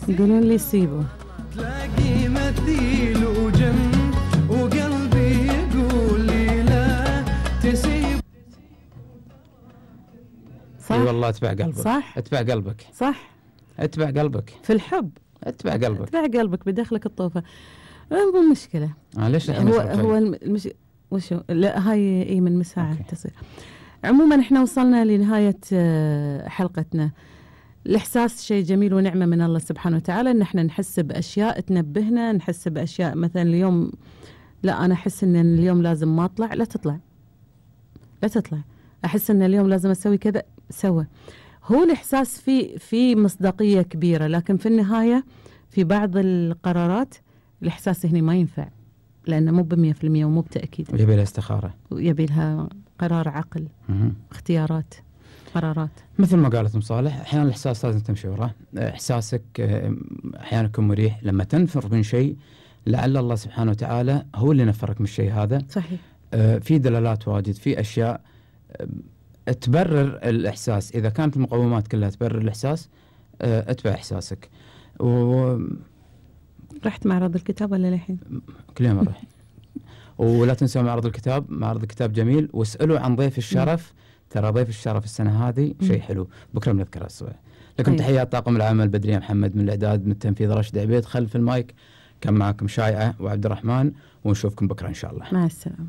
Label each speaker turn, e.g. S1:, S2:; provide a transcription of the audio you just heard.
S1: يقولون لي سيبه
S2: تلاقي مثيل وجن وقلبي يقول لي لا تسيب.
S1: صح؟
S3: اي والله اتبع قلبك.
S1: صح؟
S3: اتبع قلبك.
S1: صح؟
S3: اتبع قلبك
S1: في الحب
S3: اتبع قلبك.
S1: اتبع قلبك بداخلك الطوفة. مو مشكلة.
S3: ليش
S1: هو وشو لا هاي اي من مساعد تصير. عموما احنا وصلنا لنهاية حلقتنا. الإحساس شيء جميل ونعمة من الله سبحانه وتعالى، إن احنا نحس بأشياء تنبهنا، نحس بأشياء مثلا اليوم لا أنا أحس إن اليوم لازم ما أطلع، لا تطلع لا تطلع، أحس إن اليوم لازم أسوي كذا سوى. هو الإحساس في مصداقية كبيرة، لكن في النهاية في بعض القرارات الإحساس هنا ما ينفع، لأنه مو ب100% ومو بتأكيد،
S3: ويبي لها استخارة
S1: ويبي لها قرار عقل، اختيارات، قرارات.
S3: مثل ما قالت مصالح، أحيانا الإحساس لازم تمشي وراه. إحساسك أحيانا يكون مريح، لما تنفر من شيء لعل الله سبحانه وتعالى هو اللي نفرك من الشيء هذا.
S1: صحيح.
S3: في دلالات واجد، في أشياء تبرر الإحساس. إذا كانت المقومات كلها تبرر الإحساس اتبع إحساسك.
S1: رحت معرض الكتاب ولا للحين؟
S3: كل يوم أروح. ولا تنسوا معرض الكتاب، معرض الكتاب جميل، واسألوا عن ضيف الشرف. ترى ضيف الشرف السنة هذه شيء حلو، بكرة بنذكرها سوا. لكم تحيات طاقم العمل، بدرية محمد من الإعداد، من التنفيذ راشد عبيد، خلف المايك كان معكم شايعة وعبد الرحمن، ونشوفكم بكرة إن شاء الله.
S1: مع السلامة.